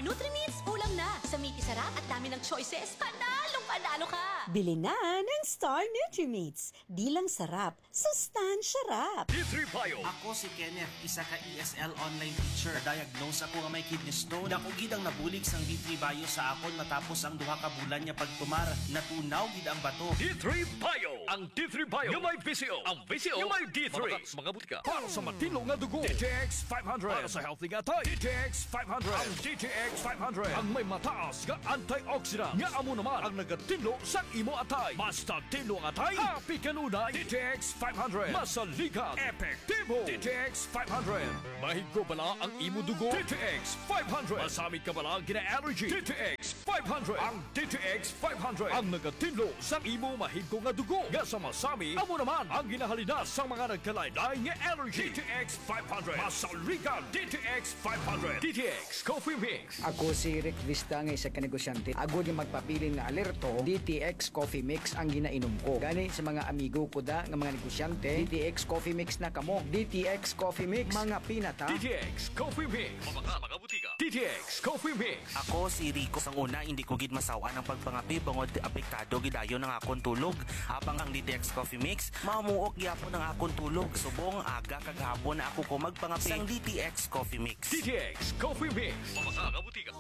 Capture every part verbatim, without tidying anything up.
Nutrimits, ulam na! Sa Miki Sarap at dami ng choices, panalong panalo ka! Bili na ng Star Nutrimits. Di lang sarap, sustansya rap. D three Bio. Ako si Kenneth, isa ka E S L online teacher. Na-diagnose ako nga may kidney stone. Dako gid ang nabulig sang D three Bio sa akon matapos ang duha ka bulan nga pagtumar. Natunaw gid ang bato. D three Bio. Ang D three Bio nga may V C O. Ang V C O nga may D three. Mabakal sa mga butika. Para sa matinlo nga dugo, D T X five hundred. Para sa healthy nga atay, D T X five hundred. Ang D T X five hundred ang may mataas nga antioxidant, nga amo naman ang nagatinlo sang imo atay. Basta tinlo ang atay, happy kanunay. D T X five hundred, masaligan, epektibo. D T X five hundred, mahigko bala ang imo dugo. D T X five hundred, masami ka bala gina-allergy. D T X five hundred, ang D T X five hundred ang nagatinlo sang imo mahigko nga dugo, nga sa masami amo naman ang ginahalinas sang mga nagkalain-lain nga allergy. D T X five hundred, masaligan. D T X five hundred, D T X Coffee Mix. Ako si Rick Vista nga isa ka negosyante. Agod nga magpabilin nga alerto, D T X Coffee Mix ang ginainom ko. Gani sa mga amigo ko da nga mga negosyante, D T X Coffee Mix na kamo. D T X Coffee Mix, mga pinata. D T X Coffee Mix. Mabakal sa mga butika. D T X Coffee Mix. Ako si Rico. Sang una, hindi ko gid masaw-an ang pagpangape bangod apektado gid dayon ang akon tulog. Habang ang D T X Coffee Mix, mamuok gyapon ang akon tulog. Subong aga kag hapon na ako ko magpangape sang D T X Coffee Mix. D T X Coffee Mix. Mabakal sa mga butika.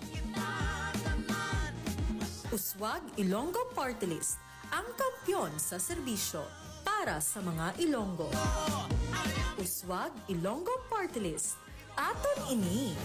Uswag Ilonggo Party List, ang kampiyon sa serbisyo para sa mga Ilonggo. Uswag Ilonggo Party List, aton ini.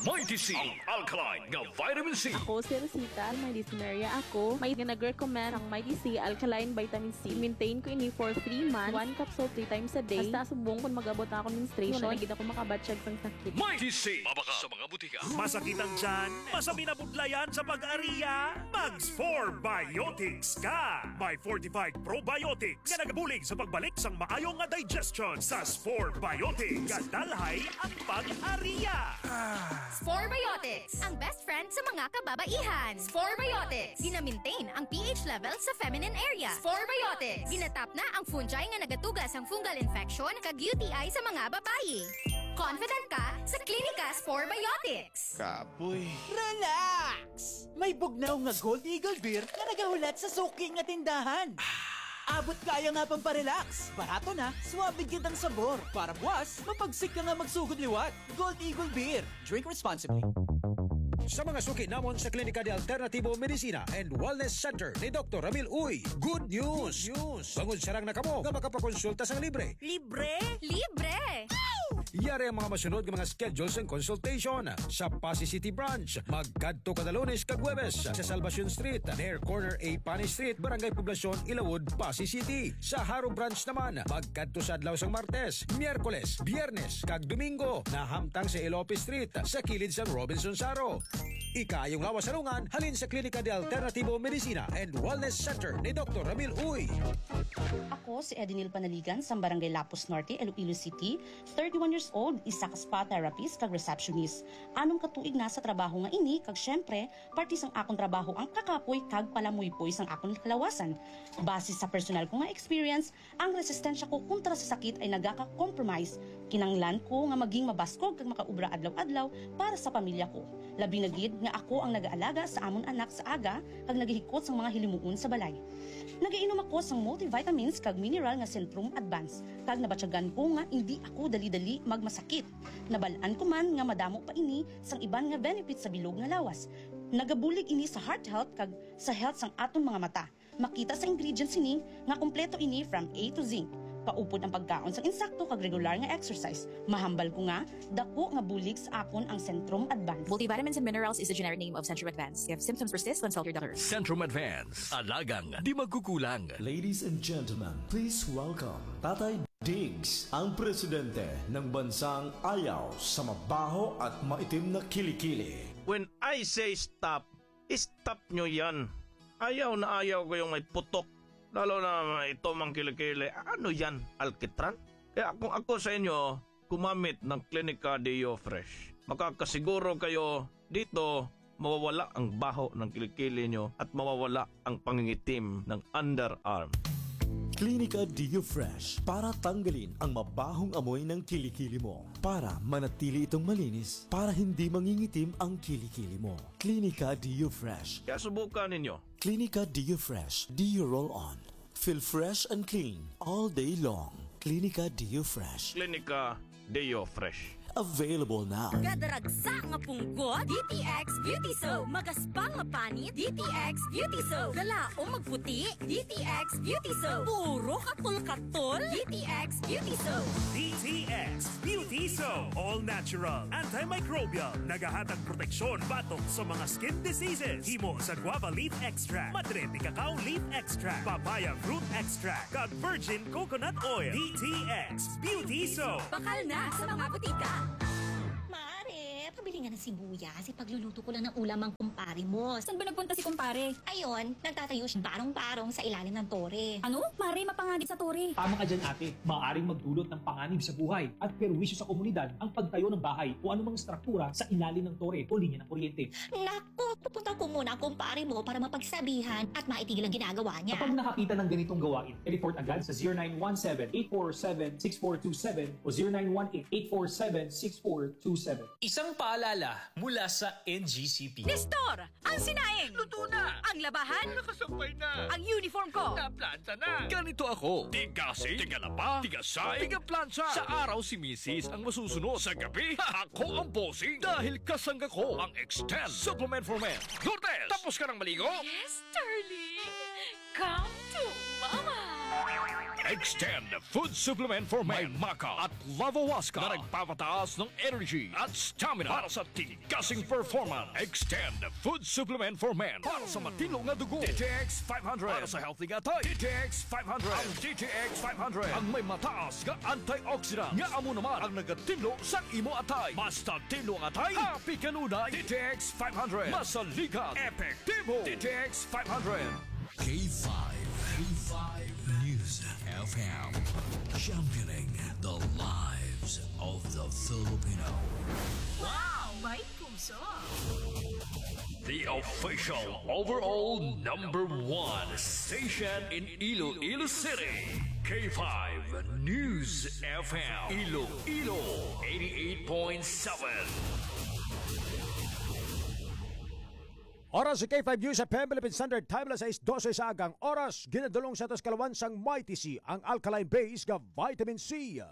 Mighty C, ang alkaline nga vitamin C. Ako si Rosita, may dysmenorrhea ako. May nag-recommend ang Mighty C alkaline vitamin C. Maintain ko ini for three months, one capsule three times a day. Hasta subong kung mag-abot na akong menstruation, wala na gid ako makabatyag sang sakit. Mighty C, mabakal sa mga butika. Masakit ang tiyan? Masami na budlayan sa pag-ariya? Mag Spore Biotics ka! May fortified probiotics nga nagabulig sa pagbalik sang maayo nga digestion. Sa Spore Biotics, kadalhay ang pag-ariya. Spore Biotics, ang best friend sa mga kababaihan. Spore Biotics, gina-maintain ang P H level sa feminine area. Spore Biotics, ginatap na ang fungi nga nagatuga sang fungal infection kag U T I sa mga babayi. Confident ka sa Klinika Spore Biotics. Kapoy. Relax! May bugnaw nga Gold Eagle Beer nga nagahulat sa suki nga tindahan. Abot kaya nga pamparelax. Barato na, suabe gid ang sabor. Para buwas, mapagsik ka nga magsugod liwat. Gold Eagle Beer. Drink responsibly. Sa mga suki namon sa Klinika de Alternativo Medicina and Wellness Center ni Doktor Ramil Uy, good news! Good news! Bangod sarang na kamo nga makapakonsulta sang libre. Libre? Libre! Yari ang mga masunod nga mga schedule sang consultation sa Passi City Branch. Magkadto kada Lunes kag Huwebes sa Salvacion Street, near corner A Pani Street, Barangay Poblacion, Ilawod, Passi City. Sa Jaro Branch naman, magkadto sa adlaw sang Martes, Miyerkules, Biyernes, kag Domingo, nahamtang sa Elope Street, sa kilid sang Robinson Jaro. Ikaayong lawas sa lungan halin sa Klinika de Alternativo Medicina and Wellness Center ni Doktor Ramil Uy. Ako si Edinil Panaligan sang Barangay Lapuz Norte, Iloilo City, thirty-one years old, isa ka spa therapist kag receptionist. Anom ka tuig na sa trabaho nga ini, kag siyempre, parte sang akon trabaho ang kakapoy kag palamuypoy sang akon kalawasan. Base sa personal ko nga experience, ang resistensya ko kontra sa sakit ay nagaka-compromise. Kinanglan ko nga maging mabaskog kag makaobra adlaw-adlaw para sa pamilya ko. Labi na gid nga ako ang nagaalaga sa amon anak sa aga kag nagahikot sang mga hilimuon sa balay. Nagainom ako sang multivitamins kag mineral nga Centrum Advance, kag nabatyagan ko nga indi ako dali-dali magmasakit. Nabal-an ko man nga madamo pa ini sang iban nga benefits sa bilog nga lawas. Nagabulig ini sa heart health kag sa health sang aton mga mata. Makita sa ingredients sini nga kompleto ini from A to Z. Paupod ang pagkaon sang insakto kag regular nga exercise. Mahambal ko nga dako nga bulig sa akon ang Centrum Advance. Multivitamins and minerals is the generic name of Centrum Advance. If symptoms persist, consult your doctor. Centrum Advance, alagang di magkukulang. Ladies and gentlemen, please welcome Tatay Diggs, ang presidente ng bansang ayaw sa mabaho at maitim na kilikili. When I say stop, stop nyo yan. Ayaw na ayaw ko yung may putok, lalo na may itom ang kilikili. Ano yan, alkitran? Kaya kung ako sa inyo, gumamit ng Clinica Deo Fresh. Makakasiguro kayo dito, mawawala ang baho ng kilikili nyo at mawawala ang pangingitim ng underarm. Clinica Deo Fresh para tanggalin ang mabahong amoy ng kilikili mo. Para manatili itong malinis, para hindi mangingitim ang kilikili mo. Clinica Deo Fresh. Kaya subukan ninyo. Clinica Deo Fresh Deo Roll On. Feel fresh and clean all day long. Clinica Deo Fresh. Clinica Deo Fresh. Available now. Kadaragsa nga punggot, D T X Beauty Soap. Magaspang nga panit, D T X Beauty Soap. Galaom magputi, D T X Beauty Soap. Puro katol-katol, D T X Beauty Soap. D T X Beauty Soap. All natural, antimicrobial. Nagahatag proteksyon batok sa mga skin diseases. Himo sa guava leaf extract, madre de cacao leaf extract, papaya fruit extract, kag virgin coconut oil. D T X Beauty Soap. Bakal na sa mga butika. Mare, pabili nga ng sibuyas. Ipagluluto ko lang ng ulam ang kumpare mo. Saan ba nagpunta si kumpare? Ayun, nagtatayo siya barong-barong sa ilalim ng tore. Ano? Mare, mapanganib sa tore. Tama ka dyan, ate. Maaaring magdulot ng panganib sa buhay at perwisyo sa komunidad ang pagtayo ng bahay o anumang struktura sa ilalim ng tore o linya ng kuryente. Nako, pupunta ko muna ang kumpare mo para mapagsabihan at maitigil ang ginagawa niya. Kapag nakakita ng ganitong gawain, i-report agad sa zero nine one seven, eight four seven, six four two seven o zero nine one eight, eight four seven, six four two seven. Isang paalala mula sa N G C P. Nestor, ang sinaing! Luto na! Ang labahan! Nakasampay na! Ang uniform ko! Naplanta na! Ganito ako. Tigasing, tigalaba, tigasay, tigaplansa. Sa araw si misis ang masusunod. Sa gabi, ako ang bossing. Dahil kasangga ko ang Extend Supplement for Men. Lourdes, tapos ka nang maligo? Yes, darling. Come to Mama. Extend Food Supplement for Men. May maca at lavawaska na nagpapataas ng energy at stamina para sa tigasing performance. Extend Food Supplement for Men para sa matinlo nga dugo. D T X five hundred para sa healthy nga atay. D T X five hundred. Ang D T X five hundred ang may mataas nga antioxidant nga amo naman ang nagatinlo sang imo atay. Basta tinlo ang atay, happy kanunay. D T X five hundred. Masaligan, epektibo. D T X five hundred. K five, K five News F M, championing the lives of the Filipino. Wow, may puso! The official overall number one station in Iloilo City, K five News F M, Iloilo, eighty-eight point seven. Oras sa K five News F M Philippine Standard Time, alas sais dose sa agang oras. Ginadulong sa atos kalawan sang Mighty C, ang alkaline base nga vitamin C.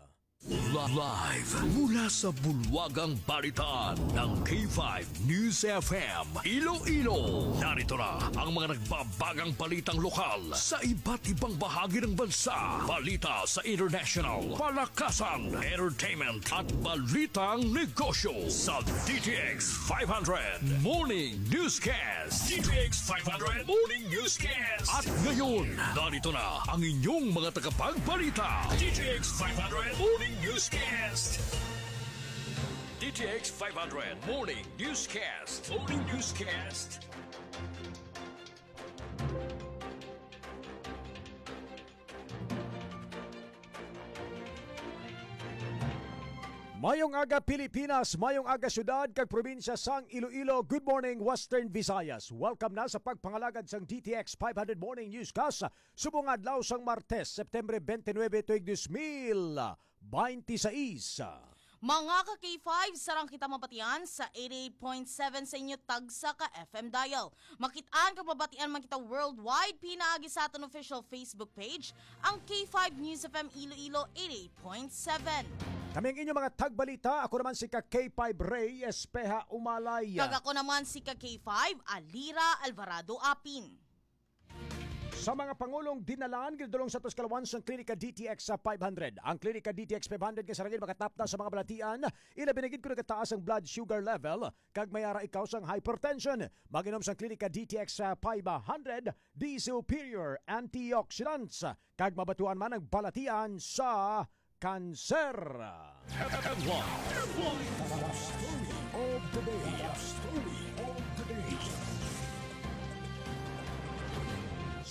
Li-, live mula sa bulwagang balitaan ng K five News F M Iloilo. Narito na ang mga nagbabagang balitang lokal sa iba't ibang bahagi ng bansa. Balita sa international, palakasan, entertainment, at balitang negosyo sa D T X five hundred Morning Newscast. D T X five hundred Morning Newscast. At ngayon, narito na ang inyong mga tagapagbalita. D T X five hundred Morning Newscast. D T X five hundred Morning Newscast. Morning Newscast. Mayong aga, Pilipinas. Mayong aga, syudad kag probinsya sang Iloilo. Good morning, Western Visayas. Welcome na sa pagpangalagad sang D T X five hundred Morning Newscast subong adlaw sang Martes, September twenty-nine, tuig dos mil binte seis. Mga ka K five, sarang kita mabatian sa eighty-eight point seven sa inyo tagsa ka F M dial. Makit-an kag mabatian man kita worldwide pinaagi sa aton official Facebook page, ang K five News F M Iloilo eighty-eight point seven. Kami ang inyong mga tagbalita. Ako naman si ka K five Ray Espeha Umalay. Kag ako naman si ka K five Alira Alvarado Apin. Sa mga pangulong dinalan, ginadulong sa atos kalawan sang Klinika D T X five hundred. Ang Klinika D T X five hundred nga sarangin makatapna sa mga balatian, ilabi na gid kung nagataas ang blood sugar level, kag may ara ikaw sang hypertension. Mag-inom sang Klinika D T X five hundred, the superior antioxidants, kag mabatuan man ang balatian sa kanser. Headline. Headline. Story of the day. Story of the day.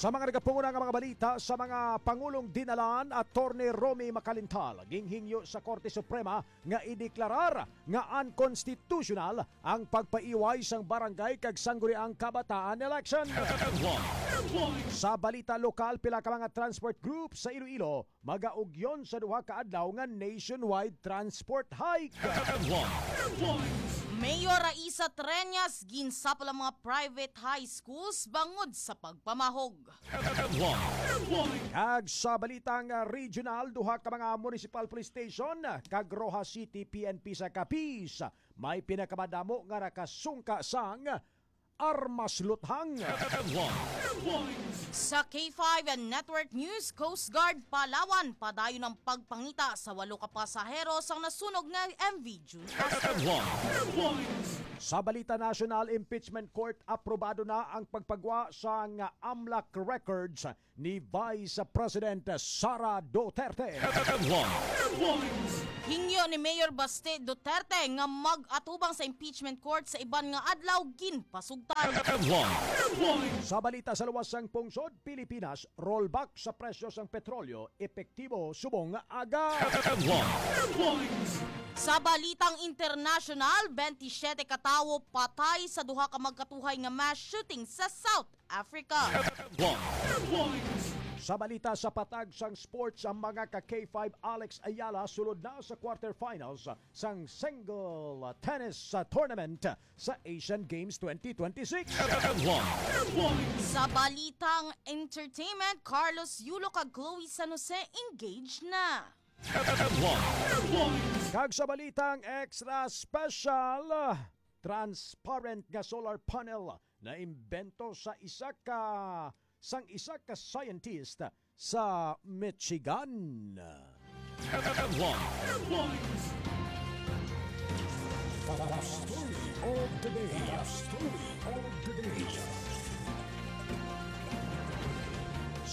Sa mga nagapanguna nga mga balita, sa mga pangulong dinalan, Attorney Romy Macalintal ginhingyo sa Korte Suprema nga ideklarar nga unconstitutional ang pagpaiway sang barangay kag sangguniang kabataan election. Sa balita lokal, pila ka mga transport group sa Iloilo magaugyon sa duha ka adlaw nga nationwide transport hike. Mayor Raisa Treñas ginsapol ang mga private high schools bangod sa pagpamahog. Kag sa balitang regional, duha ka mga municipal police station kag Roxas City P N P sa Capiz may pinakamadamo nga nakasungka sang armas luthang. Sa K five and Network News, Coast Guard Palawan padayon ang pagpangita sa walo ka pasahero sang nasunog nga M V June. Sa balita nasyonal, impeachment court aprobado na ang pagpagwa sang AMLAC records ni Vice President Sara Duterte. Hingyo ni Mayor Baste Duterte nga mag-atubang sa impeachment court sa iban nga adlaw, ginpasugtan. Sa balita sa luwas sang pungsod, Pilipinas, rollback sa presyo sang petrolyo, epektibo subong nga aga. Sa balitang internasyonal, twenty-seven ka tawo patay sa duha ka magkatuhay nga mass shooting sa South Africa. Sa balita sa patag sang sports, ang mga ka K five Alex Ayala sulod na sa quarterfinals sang single tennis tournament sa Asian Games twenty twenty-six. Sa balitang entertainment, Carlos Yulo kag Chloe San Jose engaged na. Kag sa balitang extra special, transparent nga solar panel na imbento sa isa ka sang isa ka scientist sa Michigan. Headlines. The story of the day. The story of the day.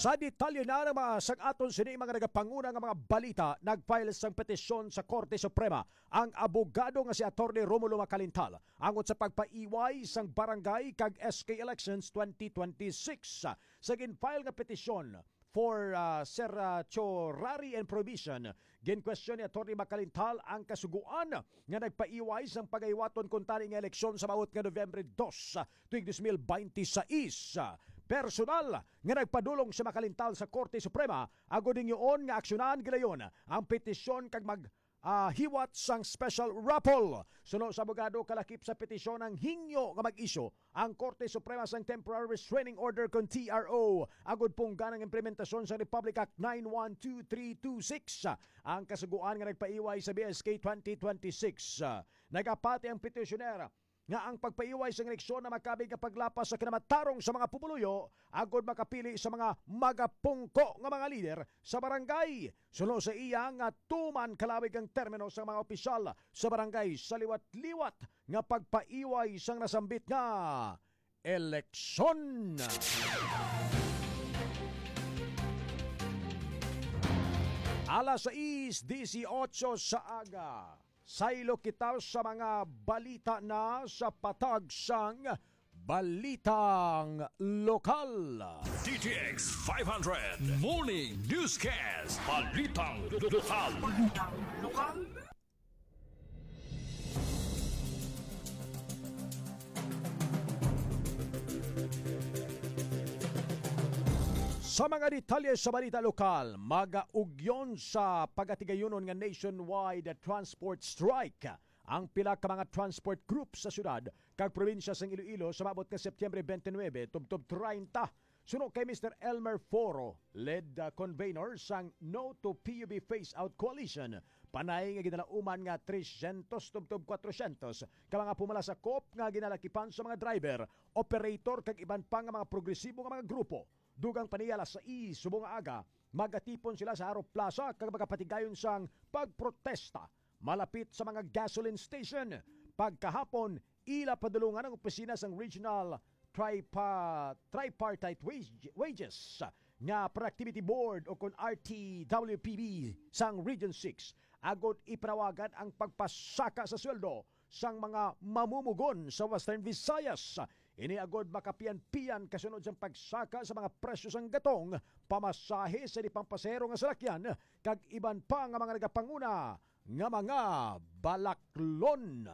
Sa detalye na naman sang aton sini mga nagapanguna nga mga balita, nag-file sang petisyon sa Korte Suprema ang abogado nga si Attorney Romulo Macalintal angot sa pagpaiway sang barangay kag S K elections twenty twenty-six. Sa gin-file nga petisyon for, ah, certiorari and prohibition, ginkwestiyon ni Attorney Macalintal ang kasugoan nga nagpaiway sang pagahiwaton kuntani nga eleksyon sa maabot nga November dos, ah, tuig dos mil beinti sais. Personal nga nagpadulong si Macalintal sa Korte Suprema agod hingyoon nga aksyonan gilayon ang petisyon kag mag ah, hiwat sang special raffle. Suno sa abogado, kalakip sa petisyon ang hingyo nga mag-issue ang Korte Suprema sang Temporary Restraining Order kon T R O agud punggan ang implementasyon sa Republic Act nine one two three two six, ang kasugoan nga nagpaiway sa B S K twenty twenty-six. Nagapati ang petisyoner nga ang pagpaiway sang eleksyon na makabig nga paglapas sa kinamatarong sa mga pumuluyo agod makapili sa mga magapungko nga mga lider sa barangay. Suno sa iya nga tuman kalawig ang termino sa mga opisyal sa barangay sa liwat-liwat nga pagpaiway sang nasambit nga eleksyon. Alas sais dieciocho sa aga. Saylo kita sa mga balita na sa patag sang Balitang Lokal. D T X five hundred Morning Newscast. Balitang Lokal. Balitang Lokal. Sa mga detalye sa balita lokal, magaugyon sa pagatigayunon nga nationwide transport strike ang pila ka mga transport group sa syudad kag probinsya sang Iloilo sa maabot nga Septyembre twenty-nine tubtob treinta. Suno kay Mister Elmer Foro, lead, uh, convener sang No to P U B Phase Out Coalition, panay nga ginalauman nga tresyentos tubtob kwatrosyentos ka mga pumala sa COP nga ginalakipan sa mga driver, operator, kag iban pa nga mga progresibo nga mga grupo. Dugang pa niya alas sais subong nga aga, magatipon sila sa Harop Plaza kag magapatigayon sang pagprotesta malapit sa mga gasoline station. Pagkahapon, ila padulungan ang opisina sang Regional Tripa-, Tripartite Wage-, Wages nga Productivity Board o kon R T W P B sang Region six agod ipanawagan ang pagpasaka sa sweldo sang mga mamumugon sa Western Visayas. Ini agod makapian-pian kasunod sang pagsaka sa mga presyo sang gatong, pamasahe sa di pampasahero nga salakyan, kag iban pa nga mga nagapanguna nga mga balaklon.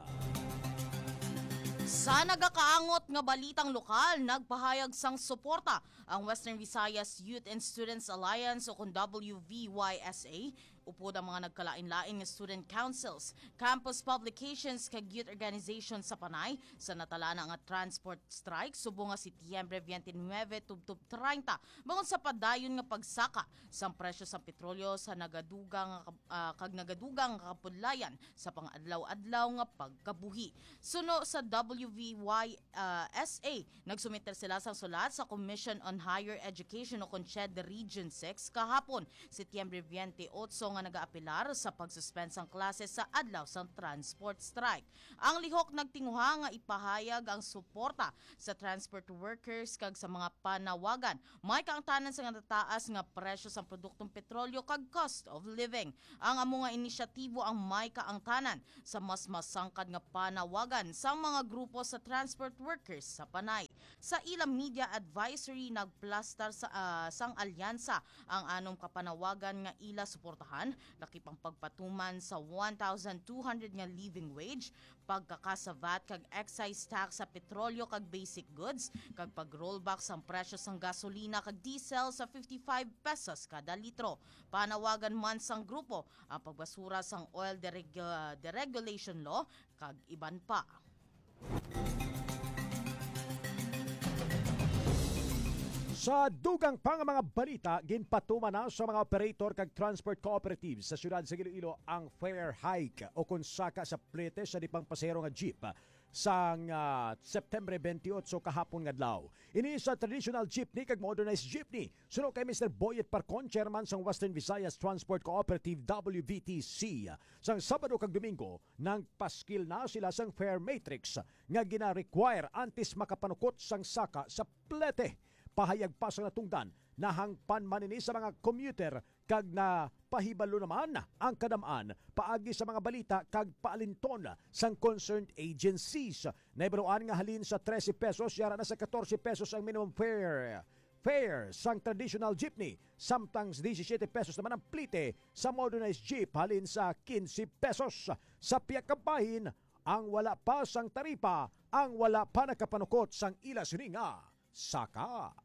Sa nagakaangot nga balitang lokal, nagpahayag sang suporta ang Western Visayas Youth and Students Alliance o kon W V Y S A, upod ang mga nagkalain-lain nga student councils, campus publications, kag youth organizations sa Panay sa natalana nga transport strike subong nga Setyembre twenty-nine tubtob treinta, bangod sa padayon nga pagsaka sang presyo sang petrolyo sa nagadugang nga kab-, ah, kag nagadugang nga kapudlayan sa pang-adlaw-adlaw nga pagkabuhi. Suno sa W V Y, ah, S A, nagsumiter sila sang sulat sa Commission on Higher Education o kon CHED Region six kahapon, Setyembre twenty-eight, nga nagaapelar sa pag-suspend sang klase sa adlaw sang transport strike. Ang lihok nagtinguha nga ipahayag ang suporta sa transport workers kag sa mga panawagan may kaangtanan sa nagataas nga presyo sang produktong petrolyo kag cost of living. Ang amo nga inisyatibo ang may kaangtanan sa mas masangkad nga panawagan sang mga grupo sa transport workers sa Panay. Sa ilang media advisory, nagplastar sa, ah, sang alyansa ang anom ka panawagan nga ila suportahan, lakip ang pagpatuman sa one thousand two hundred nga living wage, pagkakas sa vat kag excise tax sa petrolyo kag basic goods, kag pag-rollback sang presyo sang gasolina kag diesel sa fifty-five pesos kada litro. Panawagan man sang grupo ang pagbasura sang oil dereg-, deregulation law kag iban pa. Sa dugang pa nga mga balita, ginpatuman na sa mga operator kag transport cooperatives sa siyudad sa Iloilo ang fare hike o kon saka sa plete sa di pampasahero nga jeep sang, ah, September twenty-eight kahapon nga adlaw. Ini sa traditional jeepney kag modernized jeepney. Suno kay Mister Boyet Parcon, chairman sang Western Visayas Transport Cooperative, W V T C, sang Sabado kag Domingo, nagpaskil na sila sang fare matrix nga gina-require antes makapanukot sang saka sa plete. Pahayag pa sang natungdan, nahangpan man ini sa mga commuter kag napahibalo naman ang kadam-an paagi sa mga balita kag paalinton sang concerned agencies. Nahibaluan nga halin sa trese pesos, yara na sa katorse pesos ang minimum fare, fare sang traditional jeepney, samtang disisyete pesos naman ang plete sa modernized jeep, halin sa kinse pesos. Sa pihak ka bahin, ang wala pa sang taripa ang wala pa nakapanukot sang ila sini nga saka.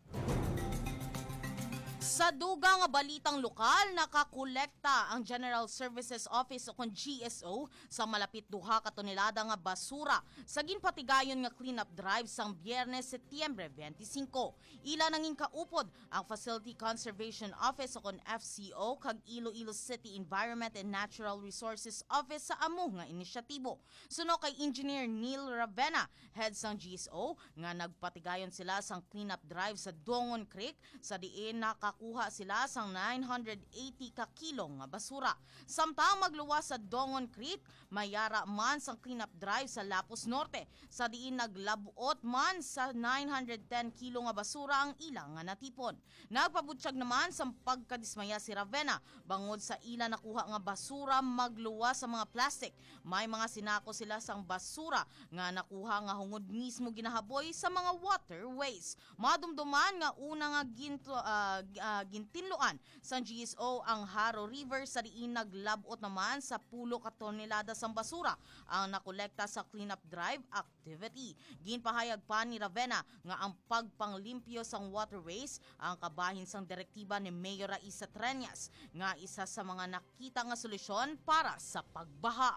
Sa dugang nga balitang lokal, nakakolekta ang General Services Office o kon G S O sa malapit duha ka tonelada nga basura sa ginpatigayon nga cleanup drive sang Biyernes, Setyembre twenty-five. Ila nangin kaupod ang Facility Conservation Office o kon F C O kag Iloilo City Environment and Natural Resources Office sa amo nga inisyatibo. Suno kay Engineer Neil Ravena, head sang G S O, nga nagpatigayon sila sang cleanup drive sa Dongon Creek, sa diin nakakuha sila sang nine hundred eighty ka kilo nga basura. Samtang magluwas sa Dongon Creek, mayara man sang cleanup drive sa Lapuz Norte, sa diin naglab-ot man sa nine hundred ten kilo nga basura ang ila nga natipon. Nagpabutyag naman sang pagkadismaya si Ravena bangod sa ila nakuha nga basura magluwas sa mga plastic. May mga sinako sila sang basura nga nakuha nga hungod mismo ginahaboy sa mga waterways. Madumduman nga una nga ginto-, ah, g-, ah, gintinluan sang G S O ang Jaro River, sa diin naglab-ot naman sa pulo ka tonelada sang basura ang nakolekta sa cleanup drive activity. Ginpahayag pa ni Ravena nga ang pagpanglimpyo sang waterways ang kabahin sang direktiba ni Mayor Raisa Treñas, nga isa sa mga nakita nga solusyon para sa pagbaha.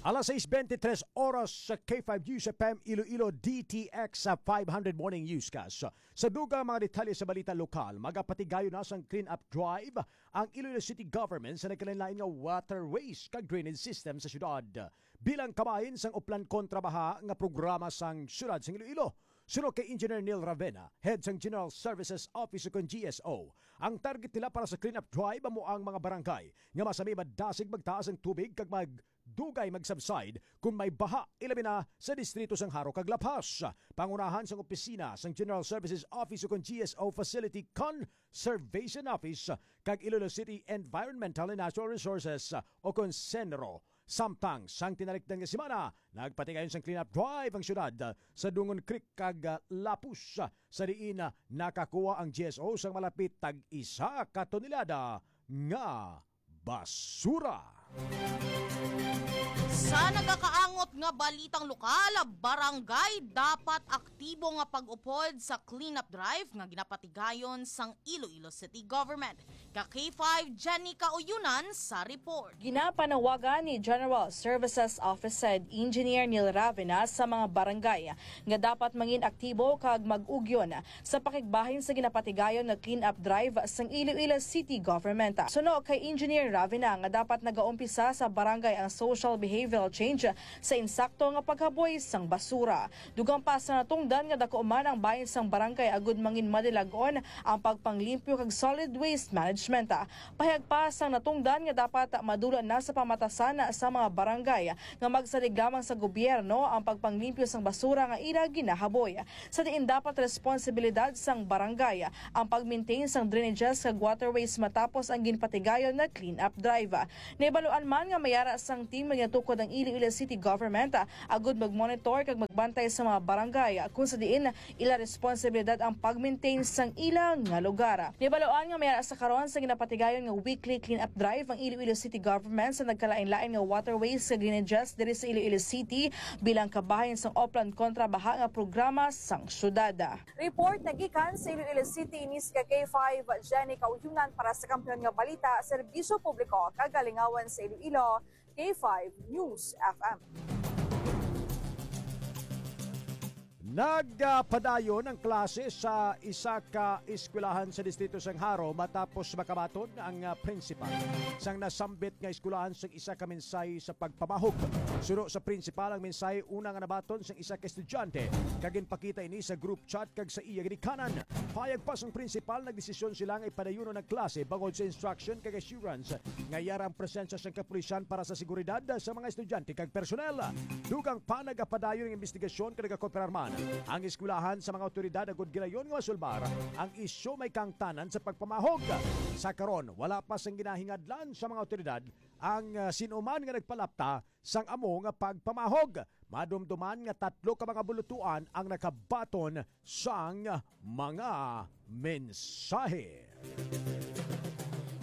Alas sais bente tres oras sa K five News F M Iloilo, D T X sa five hundred Morning Newscast. Sa dugang mga detalye sa balita lokal, magapatigayon na sang clean-up drive ang Iloilo City Government sa nagkalainlain nga waterways kag drainage system sa syudad. Bilang kabahin sang Oplan kontra Baha nga programa sang syudad sang Iloilo, suno kay Engineer Neil Ravena, head sang General Services Office o kon G S O, ang target nila para sa clean-up drive amo ang mga barangay nga masami madasig magtaas ang tubig kag mag dugay mag-subside kon may baha, ilabi na sa distrito sang Jaro kag La Paz. Pangunahan sang opisina sang General Services Office o kon G S O Facility Conservation Office kag Iloilo City Environmental and Natural Resources o kon CENRO Samtang sang tinalikdan nga semana, nagpatigayon sang clean-up drive ang syudad, ah, sa Dungon Creek kag, ah, Lapus, ah, sa diin, ah, nakakuha ang G S O sang malapit tag isa ka tonelada nga basura. Sa nagakaangot nga balitang lokal, barangay dapat aktibo nga pag-upod sa clean-up drive nga ginapatigayon sang Iloilo City Government. Ka K five, Jenny Kauyunan sa report. Ginapanawagan ni General Services Office Head Engineer Neil Ravena sa mga barangay nga dapat mangin aktibo kag mag-ugyon sa pakigbahin sa ginapatigayon nga clean-up drive sang Iloilo City Government. Suno kay Engineer Ravena nga dapat nagaumpisa sa barangay ang social behavioral change sa insakto nga paghaboy sang basura. Dugang pa sa natungdan nga daku man ang bahin sang barangay agud mangin madilag-on ang pagpanglimpyo kag solid waste management. Pahayag pa sang natungdan nga dapat madula na sa pamatasan sa mga barangay nga magsalig lamang sa gobyerno ang pagpanglimpyo sang basura nga ila ginahaboy, sa diin dapat responsibilidad sang barangay ang pag-maintain sang drainages kag waterways matapos ang ginpatigayon nga clean-up drive. Nahibaluan man nga may ara sang team nga ginatukod ang Iloilo City Government, ah, agud mag-monitor kag magbantay sa mga barangay, ah, kung sa diin ila responsibilidad ang pag-maintain sang ila nga lugar. Nahibaluan nga may ara sa karon sa ginapatigayon nga weekly clean-up drive ang Iloilo City Government sa nagkalain-lain nga waterways kag drainages diri sa Iloilo City bilang kabahin sang Oplan kontra Baha nga programa sang syudad. Report nagikan sa Iloilo City, ini si ka K five, Jenny Kauyunan para sa Kampiyon nga Balita, Serbisyo Publiko, kag Kalingawan sa Iloilo, K five News F M. Nagpadayon ang klase sa isa ka eskwelahan sa distrito sang Jaro matapos makabaton ang, ah, prinsipal sang nasambit nga eskwelahan sang isa ka mensahe sa pagpamahog. Suno sa prinsipal, ang mensahe una nga nabaton sang isa ka estudyante kag ginpakita ini sa group chat kag sa iya ginikanan. Payag pa sang prinsipal, nagdesisyon sila nga ipadayunon ang klase bangod sa instruction kag assurance nga yara ang presensya sang kapulisan para sa seguridad sa mga estudyante kag personel. Dugang pa, nagapadayon ang investigasyon kag nagakooperar man ang eskwelahan sa mga awtoridad agud gilayon nga masulbar ang isyu may kahangtanan sa pagpamahog. Sa karon, wala pa sang ginahingadlan sa mga awtoridad ang, ah, sin-o man nga nagpalapta sang amo nga pagpamahog. Madumduman nga tatlo ka mga bulutuan ang nakabaton sang mga mensahe.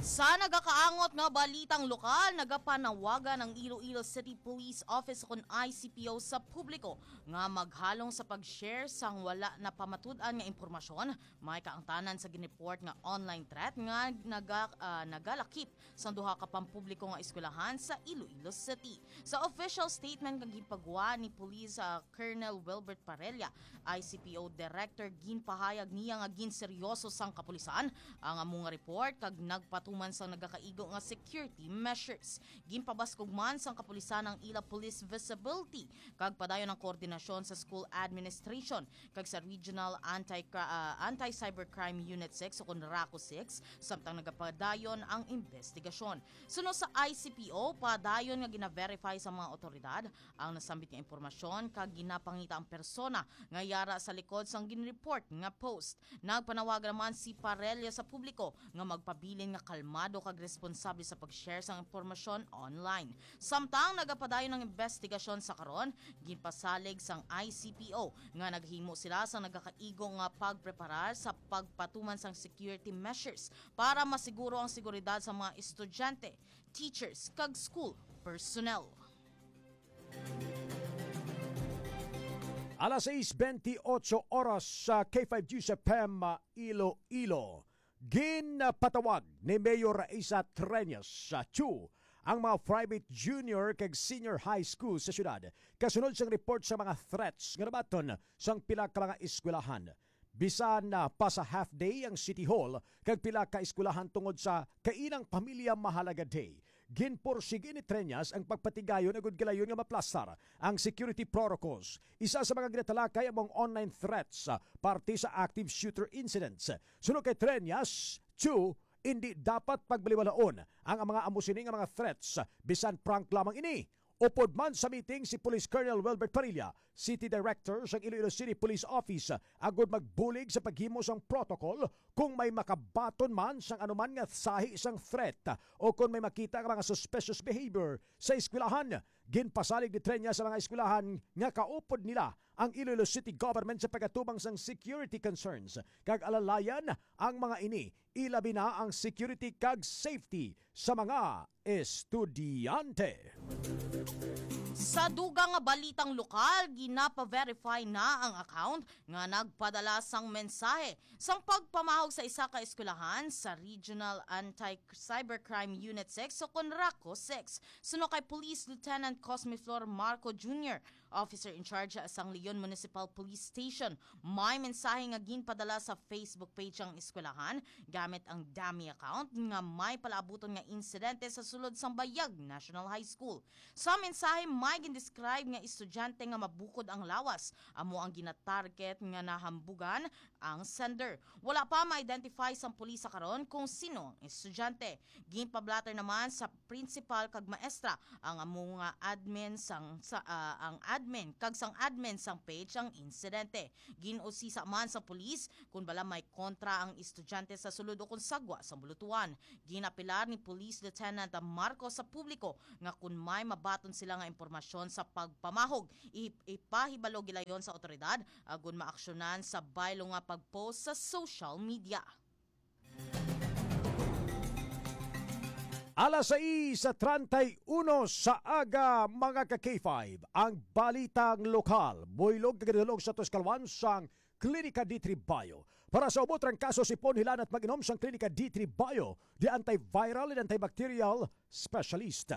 Sa nagakaangot nga balitang lokal, nagapanawagan ang Iloilo City Police Office ukon I C P O sa publiko nga maghalong sa pag-share sang wala napamatud-an nga impormasyon may kaangtanan sa ginreport nga online threat nga naga-, ah, nagalakip sang duha ka pampubliko nga eskwelahan sa Iloilo City. Sa official statement nga ginpagwa ni Police, ah, Colonel Wilbert Parella, I C P O Director, ginpahayag niya nga ginseryoso sang kapulisan ang amo nga report kag nagpatuman sang nagakaigo nga security measures. Ginpabaskog man sang kapulisan ang ila police visibility kag padayon ang koordinasyon sa school administration kag sa Regional Anti-, ah, Anti-Cybercrime Unit six ukon RACU six, samtang nagapadayon ang investigasyon. Suno sa I C P O, padayon nga gina-verify sa mga awtoridad ang nasambit nga impormasyon kag ginapangita ang persona nga yara sa likod sang ginreport nga post. Nagpanawagan naman si Parella sa publiko nga magpabilin nga kalmado kag responsable sa pag-share sang impormasyon online. Samtang nagapadayon ang investigasyon sa karon, ginpasalig sang I C P O nga naghimo sila sang nagakaigo nga pagpreparar sa pagpatuman sang security measures para masiguro ang seguridad sa mga estudyante, teachers, kag school personnel. Alas sais bentiocho oras sa K five News F M Iloilo. Ginpatawag ni Mayor Raisa Treñas sa two ang mga private junior kag senior high school sa syudad kasunod sang report sa mga threats nga nabaton sang pila ka mga eskwelahan. Bisan na pa sa half day ang City Hall kag pila ka eskwelahan tungod sa Kainang Pamilya Mahalaga Day, ginpursigi ni Treñas ang pagpatigayon agud gilayon nga maplastar ang security protocols. Isa sa mga ginatalakay amo ang online threats, ah, parte sa active shooter incidents. Suno kay Treñas, two, indi dapat pagbaliwalaon ang mga amo sini nga mga threats, bisan prank lamang ini. Upod man sa meeting si Police Colonel Wilbert Parilla, City Director sang Iloilo City Police Office, agud magbulig sa paghimo sang protocol kung may makabaton man sang anuman nga sahi sang threat o kon may makita nga mga suspicious behavior sa eskwelahan. Ginpasalig ni Treña sa mga eskwelahan nga kaupod nila ang Iloilo City Government sa pag-atubang sang security concerns, kag alalayan ang mga ini, ilabi na ang security kag safety sa mga estudyante. Sa dugang nga balitang lokal, ginapa-verify na ang account nga nagpadala sang mensahe sang pagpamahog sa isa ka eskwelahan sa Regional Anti-Cybercrime Unit six o kon RACU six. Suno kay Police Lieutenant Cosme Flor Marco Junior, Officer in Charge sang Leon Municipal Police Station, may mensahe nga ginpadala sa Facebook page ang eskwelahan gamit ang dummy account nga may palaabuton nga insidente sa sulod sang Bayag National High School. Sa mensahe, may gindescribe nga estudyante nga mabukod ang lawas amo ang ginatarget nga nahambugan ang sender. Wala pa ma-identify sang pulis sa karon kung sino ang estudyante. Ginpablatter naman sa principal kag maestra ang amo nga admin sang sa, ah, ang admin kag sang admin sang page ang insidente. Gin-usisa man sa pulis kung bala may kontra ang estudyante sa sulod o kung sagwa sang bulutuan. Ginapilar ni Police Lieutenant Marcos sa publiko nga kung may mabaton sila nga impormasyon sa pagpamahog, i- ipahibalo gilayon sa awtoridad, agon maaksyonan sa baylo nga pag-post sa social media. Alas sais treinta y uno sa aga, mga ka K five, ang balitang lokal, buylog kag ginadulong sa tuskalwan sang Klinika D three Bio. Para sa ubot rang kaso, sipon, hilanat mag-inom sang Klinika D three Bio, the antiviral and antibacterial specialist.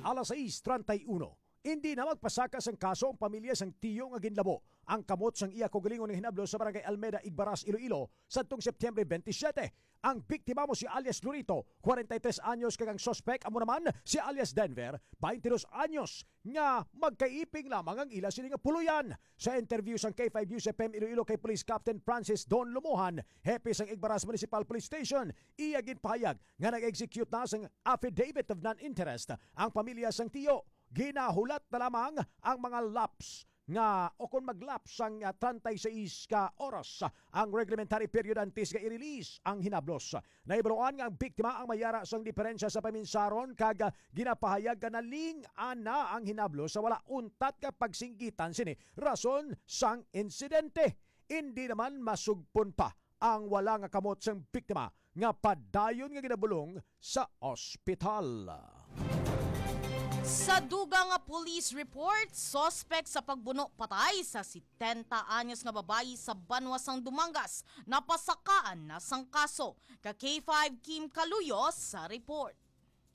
Alas sais treinta y uno. Indi na magpasaka sang kaso ang pamilya sang tiyo nga ginlabo ang kamot sang iya kaugalingon nga hinablo sa Barangay Almeda, Igbaras, Iloilo, sadtong Septyembre twenty-seven. Ang biktima amo si alias Lorito, kwarenta y tres anyos, kag ang suspek amo naman si alias Denver, twenty-dos anyos, nga magkaiping lamang ang ila sini nga puloy-an. Sa interview sang K five News F M Iloilo kay Police Captain Francis Don Lumuhan, hepe sang Igbaras Municipal Police Station, iya ginpahayag nga nag-execute na sang affidavit of non-interest ang pamilya sang tiyo. Ginahulat na lamang ang mga lapse nga, o kon mag-lapse sang, ah, treinta y seis ka oras, ah, ang reglementary period antes nga i-release ang hinablos. Nahibaluan nga ang biktima ang may yara sang diferensya sa paminsaron kag, ah, ginapahayag nga naling-an na ang hinablos sa wala untat nga pagsinggitan sini rason sang insidente. Indi naman masugpon pa ang wala nga kamot sang biktima nga padayon nga ginabulong sa ospital. Sa dugang nga police report, suspek sa pagbuno patay sa setenta anyos nga babayi sa banwa sang Dumangas napasakaan na sang kaso. Ka K five Kim Kaluyo sa report.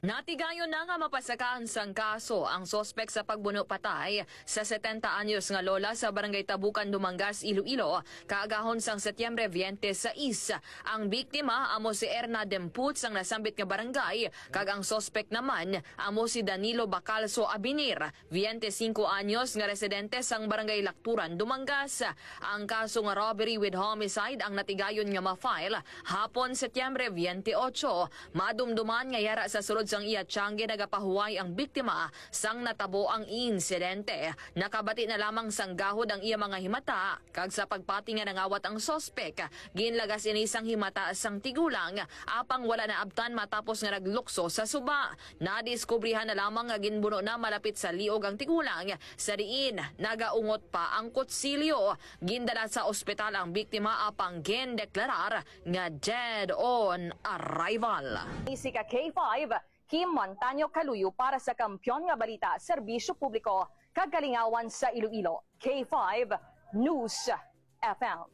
Natigayon na nga mapasakaan sang kaso ang suspek sa pagbuno patay sa setenta anyos nga lola sa Barangay Tabukan, Dumangas, Iloilo, kaagahon sang Setyembre twenty-six. Ang biktima amo si Erna Demput sang nasambit nga barangay, kag ang suspek naman amo si Danilo Bacalso Abinir, twenty-cinco anyos, nga residente sang Barangay Lacturan, Dumangas. Ang kaso nga robbery with homicide ang natigayon nga ma-file hapon Setyembre twenty-eight. Madumduman nga yara sa sulod sang iya tiyangge nagapahuway ang biktima sang natabo ang insidente. Nakabati na lamang sang gahod ang iya mga himata, kag sa pagpati nga nangawat ang suspek, ginlagas ini sang himata sang tigulang, apang wala naabtan matapos nga naglukso sa suba. Nadiskubrihan na lamang nga ginbuno na malapit sa liog ang tigulang, sa diin nagaungot pa ang kutsilyo. Gindala sa ospital ang biktima, apang gindeklarar nga dead on arrival. Isi ka K five, Kim Montaño Kaluyo para sa Kampiyon nga Balita, Serbisyo Publiko, kag Kalingawan sa Iloilo, K five News F M.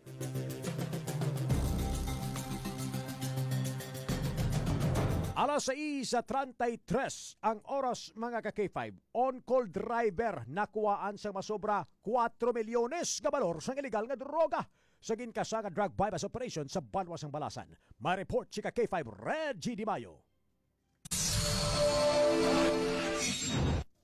Alas sais treinta y tres ang oras, mga ka K five. On-call driver nakuhaan sang masobra kuwatro milyones nga balor sang iligal nga droga sa ginkasa nga drug buy-bust operation sa banwa sang Balasan. May report si ka K five Reggie Di Mayo.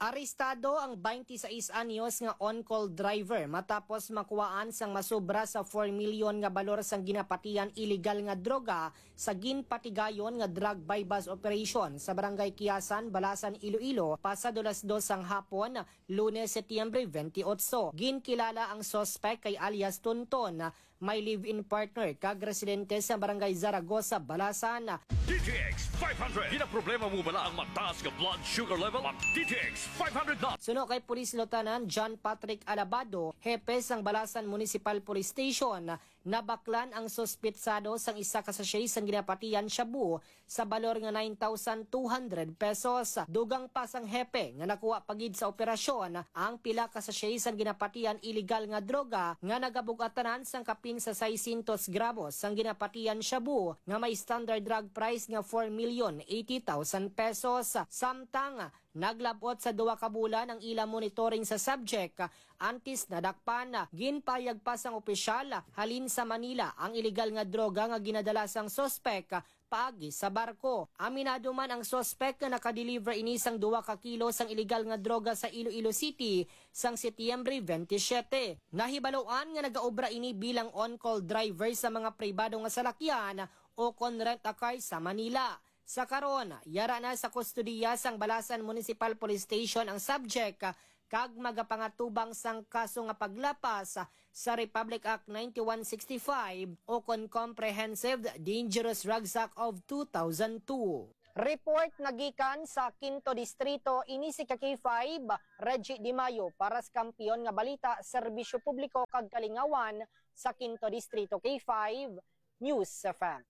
Arestado ang twenty-six anyos nga on-call driver matapos makuhaan sang masobra sa four million nga balor sang ginapatian iligal nga droga sa ginpatigayon nga drug buy-bust operation sa Barangay Kiasan, Balasan, Iloilo, pasado las dos sang hapon, Lunes, Setyembre twenty-eight. Ginkilala ang suspect kay alias Tonton, may live-in partner kag residente sa Barangay Zaragoza, Balasan. D T X five hundred. Ginaproblema mo bala ang mataas nga blood sugar level? Mag D T X five hundred na. Suno kay Police Lieutenant John Patrick Alabado, hepe sang Balasan Municipal Police Station, nabaklan ang suspitsado sang isa ka sachet sang ginapatian shabu sa balor nga nine thousand two hundred pesos. Dugang pa sang hepe nga nakuha pa gid sa operasyon ang pila ka sachet sang ginapatian iligal nga droga nga nagabug-atanan sang kapin sa seiscientos gramos sang ginapatian shabu nga may standard drug price nga four million eighty thousand pesos. Samtang naglab-ot sa duha ka bulan ang ila monitoring sa subject, antes nadakpan. Ginpahayag pa sang opisyal, halin sa Manila ang iligal nga droga nga ginadala sang suspek paagi sa barko. Aminado man ang suspek nga nakadeliver ini sang duha ka kilo sang iligal nga droga sa Iloilo City sang Setyembre twenty-seven. Nahibaluan nga nagaobra ini bilang on-call driver sa mga pribado nga salakyan o kon rent-a-car sa Manila. Sa karon, yara na sa kustodiya sang Balasan Municipal Police Station ang subject, kag magapangatubang sang kaso nga paglapas sa Republic Act ninety-one sixty-five o kon Comprehensive Dangerous Rucksack of two thousand two. Report nga gikan sa Quinto Distrito, ini si ka K five, Reggie Di Mayo, para sa Kampiyon nga Balita, Serbisyo Publiko kag Kalingawan sa Quinto Distrito, K five News F M.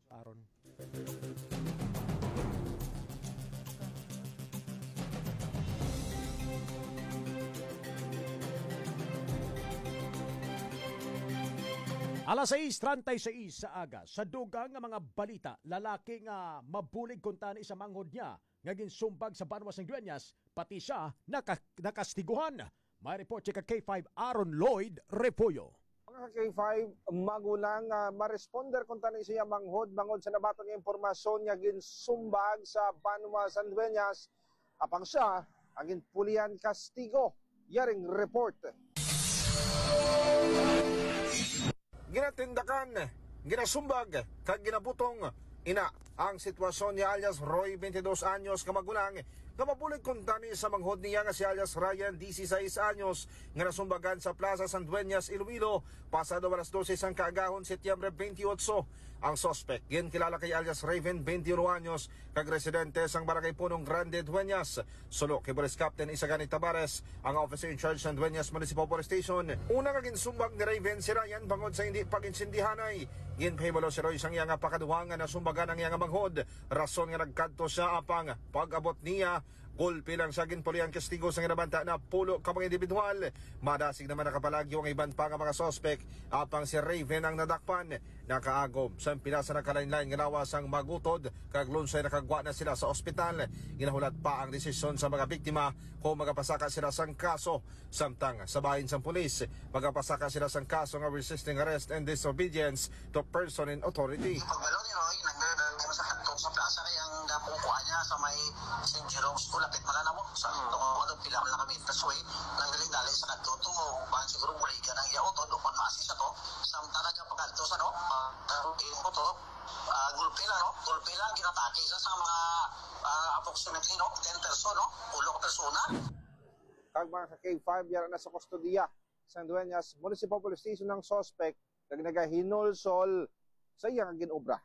Aaron. Alas sais treinta y seis sa aga, sa dugang nga mga balita, lalaki nga mabulig kuntani sa manghod niya nga ginsumbag sa banwa sang Dueñas, pati sia naka-, nakastiguhan. May report si ka K five Aaron Lloyd Refollo. Mga ka K five, magulang nga maresponder kuntani sa iya manghod bangod sa nabaton nga impormasyon nga ginsumbag sa banwa sang Dueñas, apang sia ang ginpulihan kastigo. Yaring report. Ginatindakan, ginasumbag, kag ginabutong ina ang sitwasyon ni alias Roy, twenty-dos anyos, ka magulang nga mabulig kuntani sa manghod niya nga si alias Ryan, dieciséis anyos, nga nasumbagan sa Plaza San Dueñas, Iloilo, pasado alas dose sang kaagahon, Setyembre twenty-eight. Ang suspek ginkilala kay alias Raven, twenty-uno anyos, kag residente sang Barangay Punong Grande, Dueñas. Suno kay Police Captain Isagani Tabares, ang officer in charge sang Dueñas Municipal Police Station, una nga ginsumbag ni Raven si Ryan bangod sa hindi pag-intindihanay. Ginpahibalo si Roy sang iya nga pakaduha nga nasumbagan ang iya nga manghod, rason nga nagkadto sia, apang pag-abot niya, gulpi lang siya ginpulihan kastigo sang ginabanta na pulo ka mga individual. Madasig naman nakapalagyo ang iban pa nga mga suspek, apang si Raven ang nadakpan. Nakaagom sang pila sa nagkalainlain nga lawas ang magutod, kag lunsay nakagwa na sila sa ospital. Ginahulat pa ang desisyon sa mga biktima kung magapasaka sila sang kaso. Samtang sa bahin sang pulis, magapasaka sila sang kaso nga resisting arrest and disobedience to person in authority. Pagbalo ni Roy, nagdala sa kadto sa plaza kay ang gapong kuha niya sa may Saint Jerome's School, lapit man na mo. Sa tong ano, pila na kami, that's why nagdali-dali sa kadto to, ban siguro buligan ang iya utod o kung maasi sa to. Samtang nagapakadto sa, no, ah, ah, yung motor, ah, gulpi lang, no? Gulpi lang, ginatake sa, sa mga, ah, approximately, no, ten person, no? Ulo ka persona. Kag mga ka K five, yara na sa kustodiya sang Dueñas Municipal Police Station ang suspect kag nagahinulsol sa iya nga ginobra.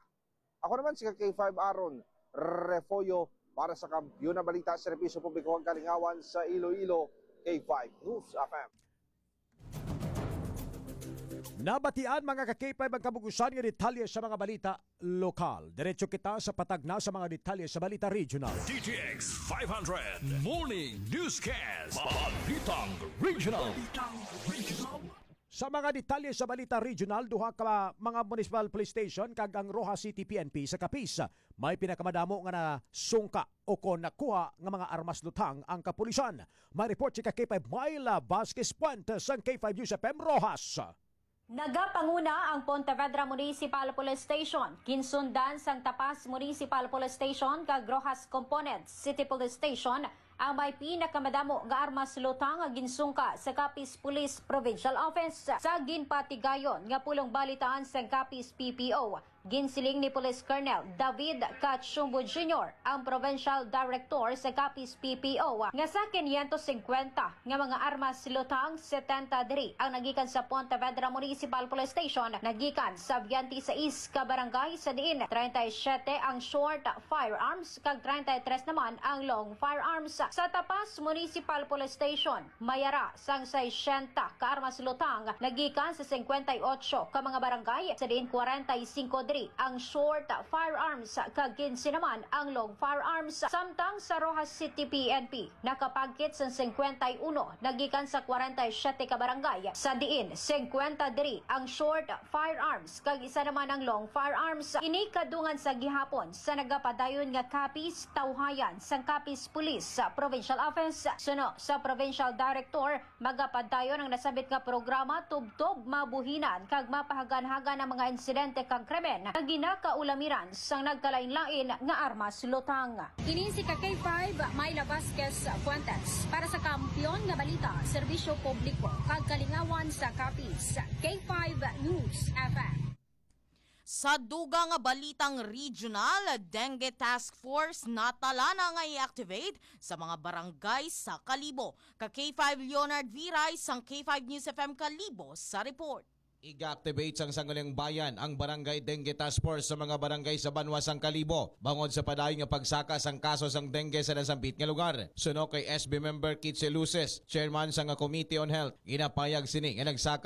Ako naman si ka K five Aaron Refollo para sa Kampiyon na Balita, Serbisyo Publiko kag Kalingawan sa Iloilo, K five News F M. Nabatian, mga ka-K five, ang kabug-usan nga detalye sa mga balita lokal. Diretso kita sa patag na sa mga detalye sa balita regional. D T X five hundred Morning Newscast. Balitang Regional. Sa mga detalye sa balita regional, duha ka mga municipal police station kag ang Roxas City P N P sa Capiz may pinakamadamo nga nasungka o kon nakuha nga mga armas luthang ang kapulisan. May report si ka K five Myla Vasquez Puente sang K five News F M Roxas. Nagapanguna ang Pontevedra Municipal Police Station, ginsundan sang Tapas Municipal Police Station kag Roxas Component City Police Station Ang may pinakamadamo nga armas lutang nga ginsungka sa Capiz Police Provincial Office. Sa ginpatigayon nga pulong balitaan sang Capiz P P O, ginsiling ni Police Colonel David Cachumbo Junior, ang Provincial Director sa Capiz P P O, nga sa quinientos cincuenta nga mga armas lutang, setenta diri ang nagikan sa Pontevedra Municipal Police Station, nagikan sa twenty-six ka barangay, sa diin treinta y siete ang short firearms kag treinta y tres naman ang long firearms. Sa Tapas Municipal Police Station, may ara sang sesenta ka armas lutang nagikan sa cincuenta y ocho ka mga barangay, sa diin cuarenta y cinco diri ang short firearms kag quince naman ang long firearms. Samtang sa Roxas City P N P, nakapagkit sang cincuenta y uno nagikan sa cuarenta y siete ka barangay, sa diin cincuenta diri ang short firearms kag isa naman ang long firearms. Ini kadungan sa gihapon sa nagapadayon nga Capiz Tawhayan sang Capiz Police Provincial Office. Suno sa Provincial Director, magapadayon ang nasambit nga programa tubtob mabuhinan kag mapahaganhagan ang mga insidente kag krimen nga ginakaulamiran sang nagkalainlain nga armas lutang. Ini si ka K five, Myla Vasquez Fuentes, para sa Kampiyon nga Balita, Serbisyo Publiko, kag Kalingawan sa Capiz, K five News F M. Sa dugang nga balitang regional, Dengue Task Force natala na nga i-activate sa mga barangay sa Kalibo. Ka K five Leonard Viray sang K five News F M Kalibo sa report. Iga-activate sang Sangguniang Bayan ang Barangay Dengue Task Force sa mga barangay sa banwa sang Kalibo, bangod sa padayon nga pagsaka sang kaso sang dengue sa nasambit nga lugar. Suno kay S B member Kitse Luces, chairman sang Committee on Health, ginapayag sini nga nagsaka